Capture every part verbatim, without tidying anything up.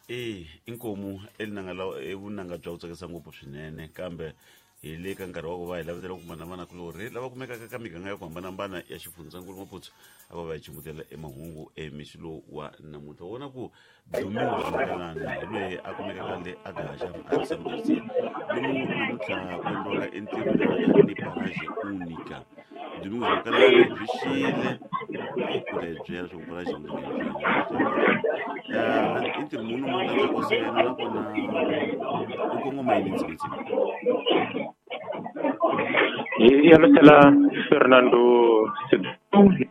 E inkomu elinanga la evunanga bya ku tsakisa ngopfu swinene kambe hi le ka nkarhi wa ku va hi lavetela ku kuma na vanakulorhi lava kumekaka ka miganga ya ku hambanahambana ya xifundzankulu Maputo a va va hi chumbutela emahungu emixo lowu wa namuntlha. U vona ku Domingo Makalani hi loyi a kumekaka le Agaxa a San lomu namuntlha ku endliwaka entirho ni Parage Unica. Domingo Makalani byi xile ku ta hi byela leswaku Parage Unica i ntirho muni mu landza sena nakona u kongoma yini ndzimi. Ya losela Fernando Sidhu,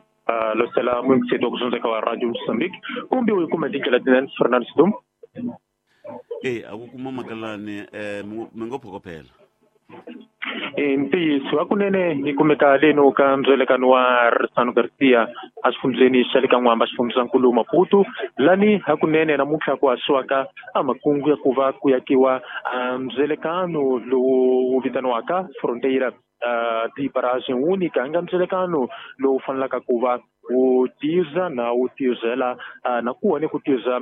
losela muyingiseri wa ku wa Radio Mozambique kumbe u yi kuma hi tindlela tinene Fernando Sidhu. E a ku kuma Makalani um mi ngo phokophela. E ntiyiso hakunene yi kumeka leno ka ndzwelekano wa Risano Garcia exifundzeni xa le ka N'wamba xifundzankulu Maputo lani hakunene namuntlha ku haxiwaka a makungu ya ku va ku yakiwa ndzwelekano lowu vitaniwaka Fronteira di Parage Unica nga ndzwelekano lowu fanelaka ku va wu tiza na wu tizela na ku ni ku tiza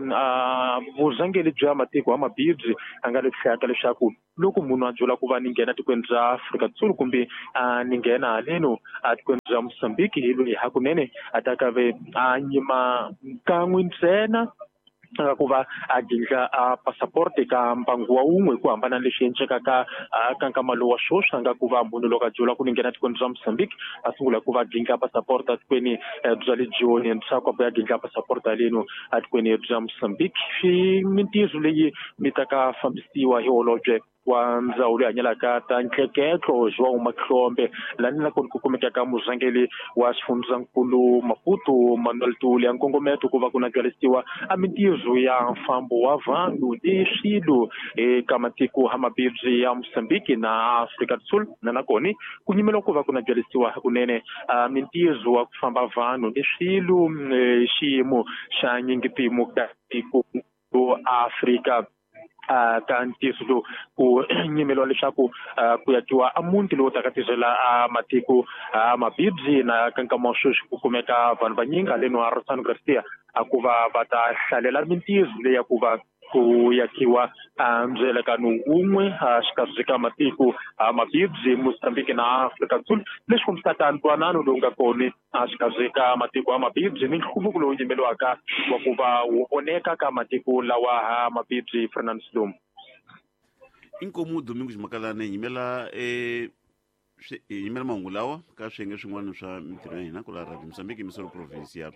vurhangeri bya matiko ya mabibyi a nga leswi leswaku loko munhu a byela ku va ni nghena tikweni bya Afrika Dzonga kumbe a ni nghena haleno a tikweni bya Mozambique hi loyi hakunene a ta ka ve a nyima kan'we ntsena ku va a gindla a passport ka mbangu wa wun'we ku hambana leswi endlekaka ka nkama lowu wa sweswi a nga ku va munhu loko a byela ku ni nghena tikweni bya Mozambique a sungula ku va gindla passport etikweni bya le Joni ndzhaku a ya gindla passport haleno etikweni bya Mozambique. Swi mintirho leyi mi ta ka fambisiwa hi holobye wa ndzawulo leyi hanyelaka ta ntleketlo João Mahlombe lani na kona ku kumekaka murhangeri wa xifundzankulu Maputo Manuel Tuli ya nkongometo ku va ku nabyalisiwa a mintirho ya mfambo wa vanhu ni swilo eka matiko ya mabibyi ya Mozambique na Afrika do Sul na nakona ku nyimela ku va ku nabyalisiwa hakunene a mintirho wa ku famba vanhu ni swilo xiyimo xa nyingitimu ka tiko Afrika ka ntiyiso lowu ku nyimeliwa leswaku ku yakiwa a muti lowu taka tirhela a matiko a mabibyi na ka nkama wa sweswi ku kumeka vanhu vanyingi haleni wa Rosano Garcia a ku va va ta hlalela mintirho leyi ya ku va ku yakiwa a ndzwelekano wun'we xikarhi ka matiko a mabibyi Mozambique na Afrika Sul leswi kombisaka ntwanano lowu nga kona xikarhi ka matiko ya mabibyi ni nhluvuko lowu nyimeliwaka wa ku va wu voneka ka matiko lawa mabibyi Fernando Silom. Inkomu Domingos Makalani yimela e yimela mahungu lawa ka swiyenge swin'wana swa mintirho ya hina ku la Radio Mozambique Misolo Provincia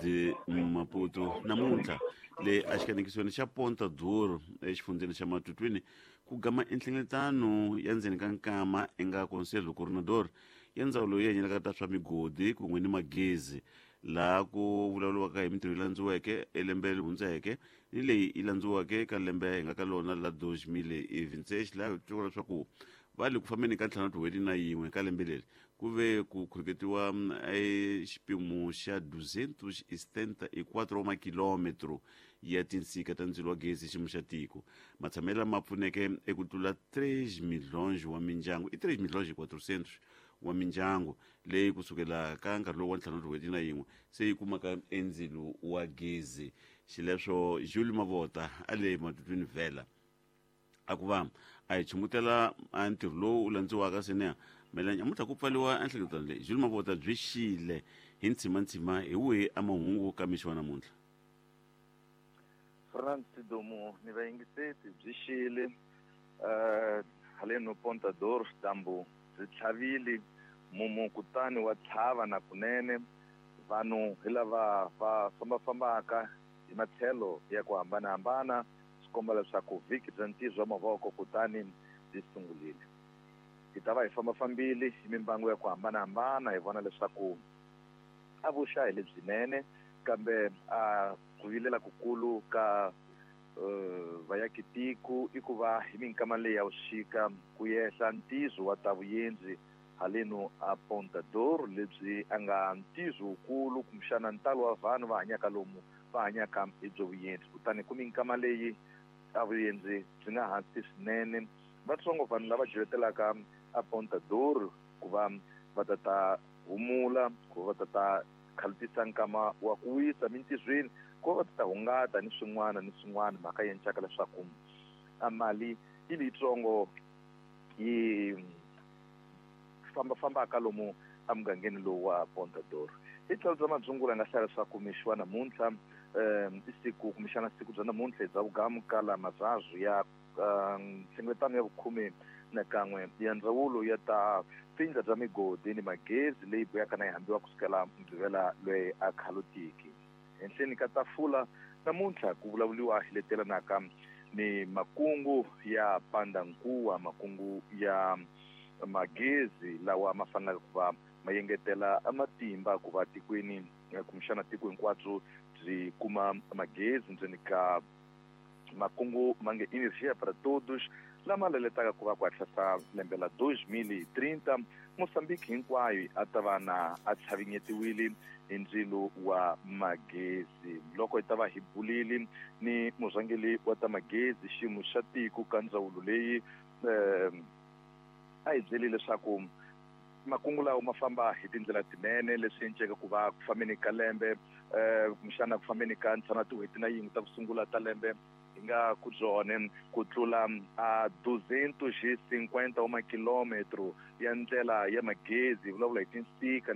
de Maputo namuntlha le exikanekisweni xa Ponta Duro exifundzeni xa Matutwini ku gama enhlengeletano ya ndzeni ka nkama enga Conselho Coordenador ya ndzawulo leyi hanyelaka ta swa migodi kun'we ni magezi laha ku vulavuriwaka hi mintirho yi landziweke elembe leri hundzeke ni leyi yi landziweke ka lembe hi nga ka lona la dos mil e vinte laha hi twaka leswaku va le ku fambeni ka ntlhanu tin'hweti na yin'we ka lembe leri ku ve ku khuluketiwa xipimo xa duzentos e setenta e quatro wa makilometro ya tinsika ta ndzilo wa gezi xiyimo xa tiko matshamelo lama pfuneke eku tlula três milhões wa mindyangu i três milhões e quatrocentos wa mindyangu leyi kusukela ka nkarhi lowu wa ntlhanu tin'hweti na yin'we se yi kumaka endzilo wa gezi xileswo Jules Mavota a le Matutwini Vela a ku va a hi chumbutela a ntirho lowu landziwaka sene melanya namuntlha ku pfaliwa enhlengeletano leyi Jules Mavota byi xile hi ntshimantsima hi wihi a mahungu ka mixo wa namuntlha. Fernando Sidomu ni vayingiseti byi xile um haleno Ponta Dor dyambu byi tlhavile mumu kutani wa tlhava na kunene vanhu hi lava va fambafambaka hi matlhelo ya ku hambanahambana swi komba leswaku vhiki bya ntirho wa mavoko kutani byi sungurile. Hi ta va hi fambafambile hi mimbangu ya ku hambanahambana hi vona leswaku a vuxa hi lebyinene kambe a ku vilela kukulu ka uh, vayakitiko i ku va hi minkama leyi ya vuxika ku yehla ntizo wa ta vuyendzi haleno a Ponta Dor lebyi a nga ntizo wukulu kumbexana ntalo wa vanhu va hanyaka lomu va hanyaka hi byo vuyendzi kutani ku minkama leyi a vuyendzi byi nga hansi swinene vatsongo vanhu lava joyetelaka a Ponta Dor ku va va ta ta humula ku va ta ta khalutisa nkama wa ku wisa mintizweni Ku va ti ta hungata ni swin'wana ni swin'wana mhaka yi encaka leswaku a mali yi leyitsongo yi fambafambaka lomu emugangeni lowu wa Ponta do Ouro. Hi tlhelo bya madzungula nga hlaya leswaku mixo wa namuntlha um i siku kumbexana siku bya namuntlha bya vugamu kala mazazu ya nhlengeletano ya vukhume na kan'we ya ndzawulo ya ta tindla bya migodi ni magezi leyi buyaka na yi hambiwa kusukela Mugqivela loyi a khalotiki. Henhleni ka tafula namuntlha ku vulavuriwa hi letelanaka ni makungu ya pandankuwa, makungu ya magezi lawa ma faneleke ku va ma yengetela matimba ku va tikweni kumbexana tiko hinkwabyo byi kuma magezi ndzeni ka makungu ma nge Energia para Todos lama leletaka ku va ku hatlisa lembe la dos mil trinta Mozambique hinkwayo a ta va na a tlhavinyetiwile hi ndzilo wa magezi. Loko hi ta va hi bulile ni murhangeri wa ta magezi xiyimo xa tiko ka ndzawulo leyi um a hi byeli leswaku makungu lawa ma famba hi tindlela tinene leswi enceke ku va ku fambeni ka lembe um kumbexana ku fambeni ka ntlhanu tin'hweti na yin'we ta ku sungula ta lembe hi nga ku byone ku tlula a duzentos e cinquenta wa makilometro ya ndlela ya magezi hi vulavula hi tinsika.